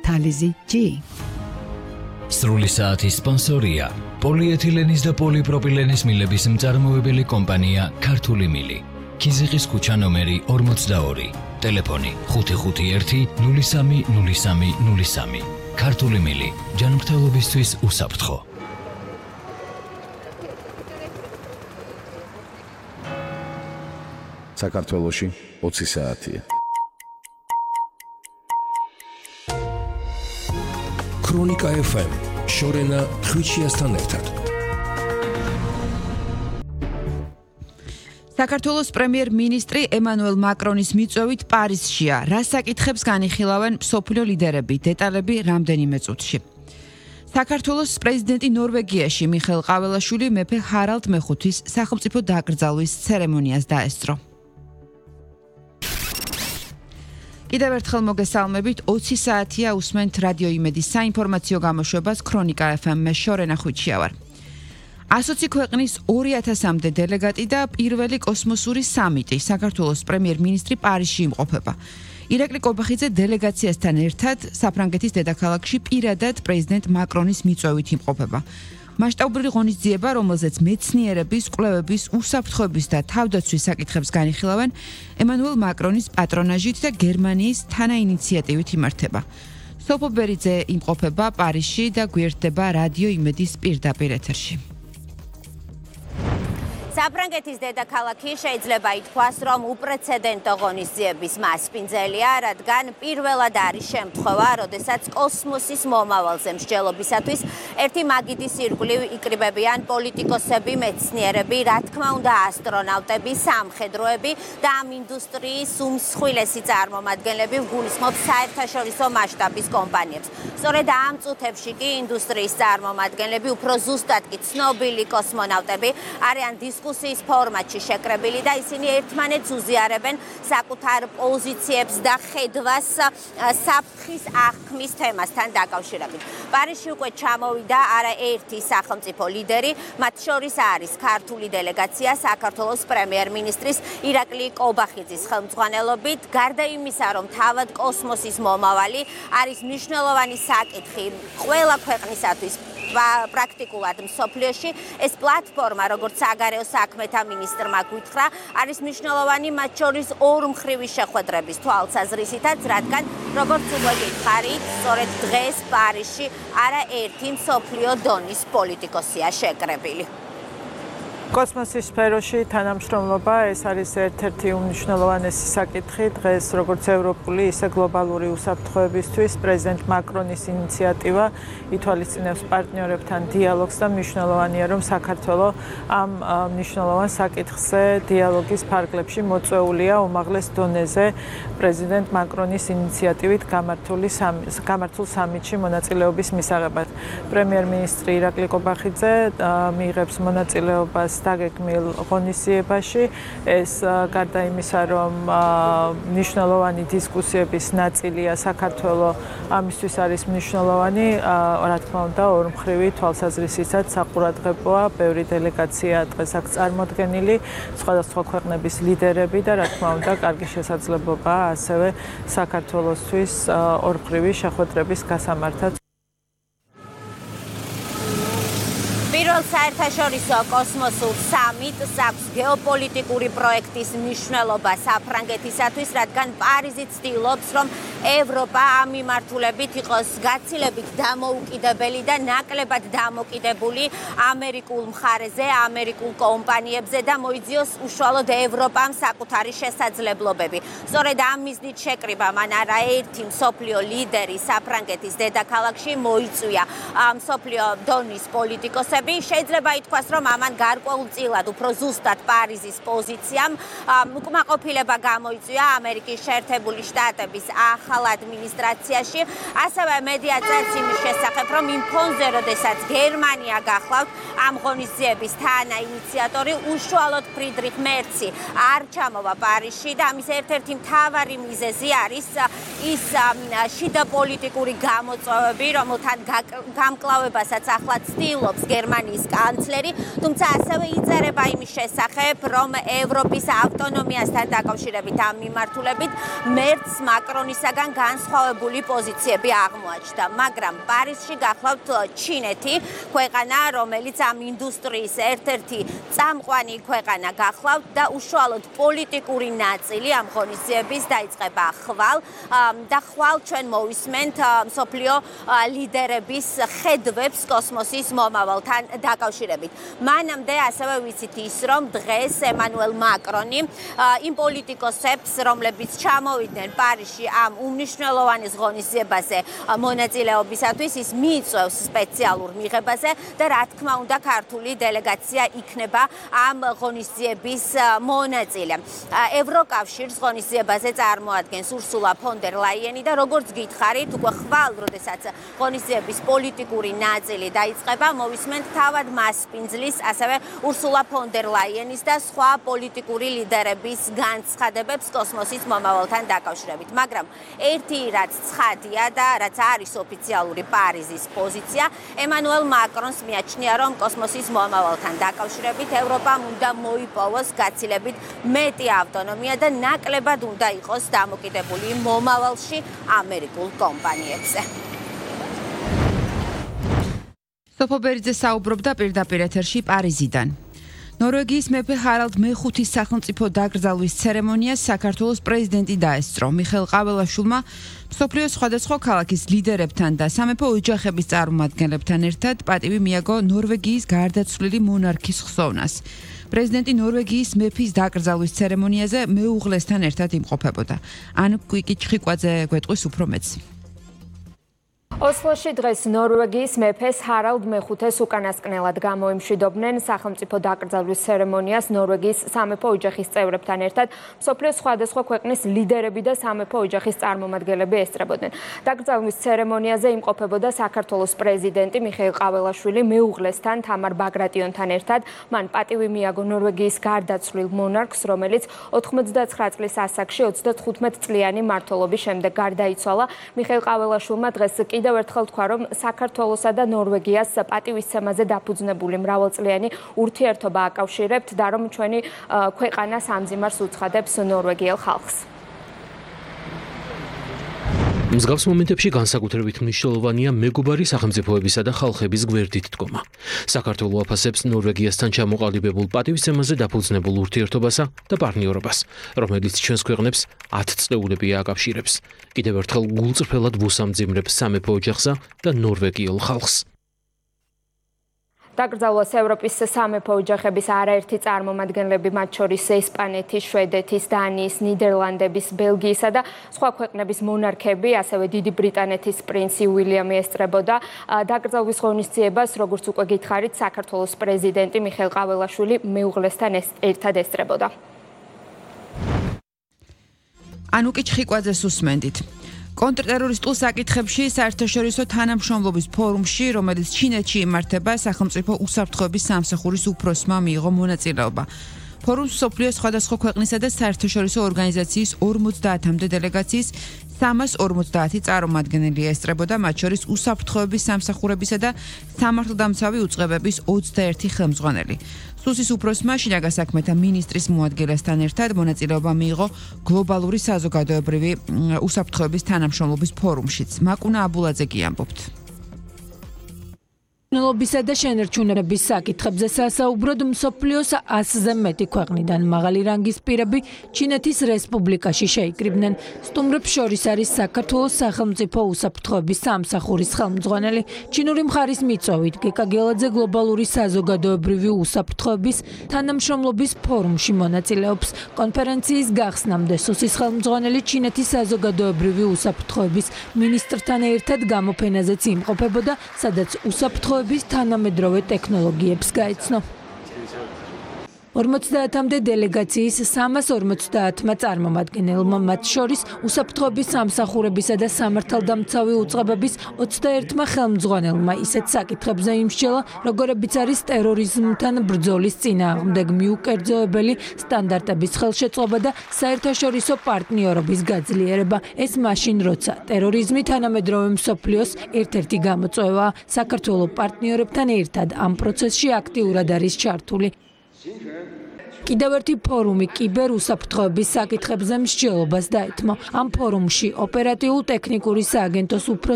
თალიზი G. სრული საათის სპონსორია პოლიეთილენის და პოლიპროპილენის მილების მწარმოებელი კომპანია ქართული მილი. ქიზიყის ქუჩა ნომერი 42. ტელეფონი 551 030303. ქართული მილი ჯანმრთელობისთვის უსაფრთხო. საქართველოში 20 საათია. ქრონიკა FM შორენა ხვიჩიასთან ერთად. საქართველოს პრემიერ-მინისტრი ემანუელ მაკრონის მიწვევით პარიზშია. რა საკითხებს განიხილავენ მსოფლიო ლიდერები? დეტალები რამდენიმე წუთში. საქართველოს პრეზიდენტი ნორვეგიაში მიხეილ ყაველაშვილი მეფე ჰარალდ მეხუთის სახელმწიფო დაკრძალვის ცერემონიას დაესწრო. კიდევ ერთხელ მოგესალმებით, 20 საათია უსმენთ რადიო იმედის საინფორმაციო გამოშვებას ქრონიკა FM-ში შორენა ხვიჩია ვარ. 120 ქვეყნის 2000-მდე დელეგატი და პირველი კოსმოსური სამიტი საქართველოს პრემიერ-მინისტრი პარიზში იმყოფება. ირაკლი კობახიძე დელეგაციასთან ერთად საფრანგეთის დედაქალაქში პირადად პრეზიდენტ მაკრონის მიწვევით იმყოფება. მასშტაბური ღონისძიება, რომელზეც მეცნიერების, კვლევების, უსაფრთხოების და თავდაცვის საკითხებს განიხილავენ, ემანუელ მაკრონის პატრონაჟით და გერმანიის თანაინიციატივით იმართება. სოფო ბერიძე იმყოფება პარიზში და გვერდდება რადიო იმედის პირდაპირ ეთერში. საფრანგეთის დედაქალაქი შეიძლება ითქვას, რომ უპრეცედენტო ღონისძიების მასპინძელია, რადგან პირველად არის შემთხვევა, როდესაც კოსმოსის მომავალზე მსჯელობისათვის ერთი მაგიდის ირგვლივ იკრიბებიან პოლიტიკოსები, მეცნიერები, რა თქმა უნდა ასტრონავტები, სამხედროები და ამ ინდუსტრიის უმსხვილესი წარმომადგენლები ვგულისხმობ საერთაშორისო მასშტაბის კომპანიებს. სწორედ ამ წუთებში კი ინდუსტრიის წარმომადგენლები, უფრო ზუსტად კი ცნობილი კოსმონავტები არიან დისკუსიის ფორმატში შეკრებილი და ისინი ერთმანეთს უზიარებენ საკუთარ პოზიციებს და ხედვას საფრთხის აღქმის თემასთან დაკავშირებით. პარიზში უკვე ჩამოვიდა არაერთი სახელმწიფო ლიდერი, მათ შორის არის ქართული დელეგაცია საქართველოს პრემიერ-მინისტრის ირაკლი კობახიძის ხელმძღვანელობით. გარდა იმისა, რომ თავად კოსმოსის მომავალი არის მნიშვნელოვანი საკითხი ყველა ქვეყნისათვის პრაქტიკულად მსოფლიოში, ეს პლატფორმა, როგორც საგარეო საქმეთა მინისტრმა გითხრა, არის მნიშვნელოვანი მათ შორის ორმხრივი შეხვედრების თვალსაზრისითაც, რადგან როგორც უკვე გითხარით, სწორედ დღეს პარიზში არაერთი მსოფლიო დონის პოლიტიკოსია შეკრებილი. კოსმოსის სფეროში თანამშრომლობა ეს არის ერთ-ერთი უმნიშვნელოვანესი საკითხი დღეს როგორც ევროპული, ისე გლობალური უსაფრთხოებისთვის. პრეზიდენტ მაკრონის ინიციატივა ითვალისწინებს პარტნიორებთან დიალოგს და მნიშვნელოვანია, რომ საქართველოს ამ მნიშვნელოვან საკითხზე დიალოგის ფარგლებში მოწვეულია უმაღლეს დონეზე პრეზიდენტ მაკრონის ინიციატივით გამართულ სამიტში მონაწილეობის მისაღებად. პრემიერ-მინისტრი ირაკლი კობახიძე მიიღებს მონაწილეობას დაგეგმილ ღონისძიებაში. ეს გარდა იმისა, რომ მნიშვნელოვანი დისკუსიების ნაწილია, საქართველოს ამისთვის არის მნიშვნელოვანი, რა თქმა უნდა, ორმხრივი თვალსაზრისითაც საყურადღებოა. ბევრი დელეგაცია დღეს აქ წარმოდგენილი, სხვადასხვა ქვეყნების ლიდერები და რა თქმა უნდა, კარგი შესაძლებლობაა ასევე საქართველოსთვის ორმხრივი შეხვედრების გასამართად. პირველ საერთაშორისო კოსმოსურ სამიტს აქვს გეოპოლიტიკური პროექტის მნიშვნელობა საფრანგეთისათვის, რადგან პარიზი ცდილობს, რომ ევროპა ამ მიმართულებით იყოს გაცილებით დამოუკიდებელი და ნაკლებად დამოკიდებული ამერიკულ მხარეზე, ამერიკულ კომპანიებზე და მოიძიოს უშუალოდ ევროპამ საკუთარი შესაძლებლობები. სწორედ ამ მიზნით შეკრიბა მან არაერთი მსოფლიო ლიდერი საფრანგეთის დედაქალაქში მოიწვია მსოფლიო დონის პოლიტიკოსები. შეიძლება ითქვას, რომ ამან გარკვეულწილად უფრო ზუსტად პარიზის პოზიციამ უკმაყოფილება გამოიწვია ამერიკის შეერთებული შტატების ახალ ადმინისტრაციაში. ასევე მედია წერს იმის შესახებ, რომ იმ ფონზე, როდესაც გერმანია გახლავთ ამ ღონისძიების თანაინიციატორი, უშუალოდ ფრიდრიხ მერცი არ ჩამოვა პარიზში და ამის ერთ-ერთი მთავარი მიზეზი არის ის შიდა პოლიტიკური გამოწვევები, რომელთან გამკლავებასაც ახლა ცდილობს გერმანიის იტალიის კანცლერი, თუმცა ასევე იწერება იმის შესახებ, რომ ევროპის ავტონომიასთან დაკავშირებით ამ მიმართულებით მერცს მაკრონისაგან განსხვავებული პოზიციები აღმოაჩნდა, მაგრამ პარიზში გახლავთ ჩინეთი, ქვეყანა, რომელიც ამ ინდუსტრიის ერთ-ერთი წამყვანი ქვეყანა გახლავთ და უშუალოდ პოლიტიკური ნაწილი ამ ღონისძიების დაიწყება ხვალ და ხვალ ჩვენ მოვისმენთ მსოფლიო ლიდერების ხედვებს კოსმოსის მომავალთან დაკავშირებით. მანამდე ასევე ვიცით ის, რომ დღეს ემანუელ მაკრონი იმ პოლიტიკოსებს, რომლებიც ჩამოვიდნენ პარიზში ამ უმნიშვნელოვანეს ღონისძიებაზე მონაწილეობისათვის, ის მიიწვევს სპეციალურ მიღებაზე და რა თქმა უნდა ქართული დელეგაცია იქნება ამ ღონისძიების მონაწილე. ევროკავშირს ღონისძიებაზე წარმოადგენს ურსულა ფონ დერ ლაიენი და როგორც გითხარით, უკვე ხვალ, როდესაც ღონისძიების პოლიტიკური ნაწილი დაიწყება, მოვისმენთ თავად მასპინძლის, ასევე ურსულა ფონ დერ ლაიენის და სხვა პოლიტიკური ლიდერების განცხადებებს კოსმოსის მომავალთან დაკავშირებით. მაგრამ ერთი რაც ცხადია და რაც არის ოფიციალური პარიზის პოზიცია, ემანუელ მაკრონს მიაჩნია, რომ კოსმოსის მომავალთან დაკავშირებით ევროპამ უნდა მოიპოვოს გაცილებით მეტი ავტონომია და ნაკლებად უნდა იყოს დამოკიდებული მომავალში ამერიკულ კომპანიებზე. სოფო ბერიძე საუბრობდა პირდაპირ ეთერში პარიზიდან. ნორვეგიის მეფე ჰარალდ მე-5-ის სახელმწიფო დაკრძალვის ცერემონიას საქართველოს პრეზიდენტი დაესწრო. მიხეილ ყაველაშვილმა მსოფლიოს სხვადასხვა ქალაქის ლიდერებთან და სამეფო ოჯახების წარმომადგენლებთან ერთად პატივი მიაგო ნორვეგიის გარდაცვლილი მონარქის ხსოვნას. პრეზიდენტი ნორვეგიის მეფის დაკრძალვის ცერემონიაზე მეუღლესთან ერთად იმყოფებოდა. ან კვიკი ჩხიკვაძე გვეტყვის უფრო მეც. ოსლოში დღეს ნორვეგიის მეფეს ჰარალდ მე-5-ეს უკანასკნელად გამოიმშვიდობდნენ სახელმწიფო დაკრძალვის ცერემონიას ნორვეგიის სამეფო ოჯახის წევრებთან ერთად მსოფლიოს სხვადასხვა ქვეყნის ლიდერები და სამეფო ოჯახის წარმომადგენლები ესწრებოდნენ. დაკრძალვის ცერემონიაზე იმყოფებოდა საქართველოს პრეზიდენტი მიხეილ ყაველაშვილი მეუღლესთან თამარ ბაგრატიონთან ერთად. მან პატივი მიაგო ნორვეგიის გარდაცვლილ მონარქს, რომელიც 99 წლის ასაკში 35 წლიანი მმართველობის შემდეგ გარდაიცვალა. მიხეილ ყაველაშვილმა დღეს კიდევ ერთხელ თქვა, რომ საქართველოსა და ნორვეგიას პატივისცემაზე დაფუძნებული მრავალწლიანი ურთიერთობა აკავშირებთ და რომ ჩვენი ქვეყანა სამძიმარს უცხადებს ნორვეგიელ ხალხს. მსგავს მომენტებში განსაკუთრებით მნიშვნელოვანია მეგობარი სახელმწიფოებისა და ხალხების გვერდით დგომა. საქართველო აფასებს ნორვეგიასთან ჩამოყალიბებულ პატივისცემაზე დაფუძნებულ ურთიერთობასა და პარტნიორობას, რომელიც ჩვენს ქვეყნებს 10 წლეულები აკავშირებს. კიდევ ერთხელ გულწრფელად ვუსამძიმრებს სამეფო ოჯახსა და ნორვეგიელ ხალხს. დაკრძალვას ევროპის სამეფო ოჯახების არაერთი წარმომადგენლები, მათ შორის ესპანეთის, შვედეთის, დანიის, ნიდერლანდების, ბელგიისა და სხვა ქვეყნების მონარქები, ასევე დიდი ბრიტანეთის პრინცი უილიამი ესწრებოდა. დაკრძალვის ღონისძიებას, როგორც უკვე გითხარით, საქართველოს პრეზიდენტი მიხეილ ყაველაშვილი მეუღლესთან ერთად ესწრებოდა. ანუკი ჩხიკვაძეს უსმენდით. კონტრტერორისტულ საკითხებში საერთაშორისო თანამშრომლობის ფორუმში, რომელიც ჩინეთში იმართება, სახელმწიფო უსაფრთხოების სამსახურის უფროსმა მიიღო მონაწილეობა. ფორუმს მსოფლიოს სხვადასხვა ქვეყნისა და საერთაშორისო ორგანიზაციის 50-მდე დელეგაციის 350 წარმომადგენელი ესწრებოდა, მათ შორის უსაფრთხოების სამსახურებისა და სამართალდამცავი უწყებების 21 ხელმძღვანელი. სუსის უფროსმა შინაგან საქმეთა მინისტრის მოადგილესთან ერთად მონაწილეობა მიიღო გლობალური საზოგადოებრივი უსაფრთხოების თანამშრომლობის ფორუმშიც. მაკუნა აბულაძე კი ამბობთ. ნელობისა და შენერჩუნების საკითხებზე სასაუბროდ მსოფლიოს 100-ზე მეტი ქვეყნიდან მაღალი რანგის პირები ჩინეთის რესპუბლიკაში შეიკრიბნენ. სტუმრებს შორის არის საქართველოს სახელმწიფო უსაფრთხოების სამსახურის ხელმძღვანელი, ჩინური მხარის მიწვევით გეკა გელაძე გლობალური საზოგადოებრივი უსაფრთხოების თანამშრომლობის ფორუმში მონაწილეობს. კონფერენციის გახსნამდე სუსის ხელმძღვანელი ჩინეთის საზოგადოებრივი უსაფრთხოების მინისტრთან ერთად გამოფენაზეც იმყოფებოდა, სადაც უსაფრთხოების თანამედროვე ტექნოლოგიებს გაეცნო. 50-მდე დელეგაციის 350-მა წარმომადგენელმა, მათ შორის უსაფრთხოების სამსახურებისა და სამართალდამცავი უწყებების 21-მა ხელმძღვანელმა ისეთ საკითხებზე იმსჯელა, როგორებიც არის ტერორიზმთან ბრძოლის წინააღმდეგ მიუკერძოებელი სტანდარტების ხელშეწყობა და საერთაშორისო პარტნიორობის გაძლიერება. ეს მაშინ, როცა ტერორიზმი თანამედროვე მსოფლიოს ერთ-ერთი გამოწვევაა, საქართველო პარტნიორებთან ერთად ამ პროცესში აქტიურად არის ჩართული. კიდევ ერთი ფორუმი კიბერუსაფრთხოების საკითხებზე მსჯელობას დაეთმო. ამ ფორუმში ოპერატიულ-ტექნიკური სააგენტოს უფროს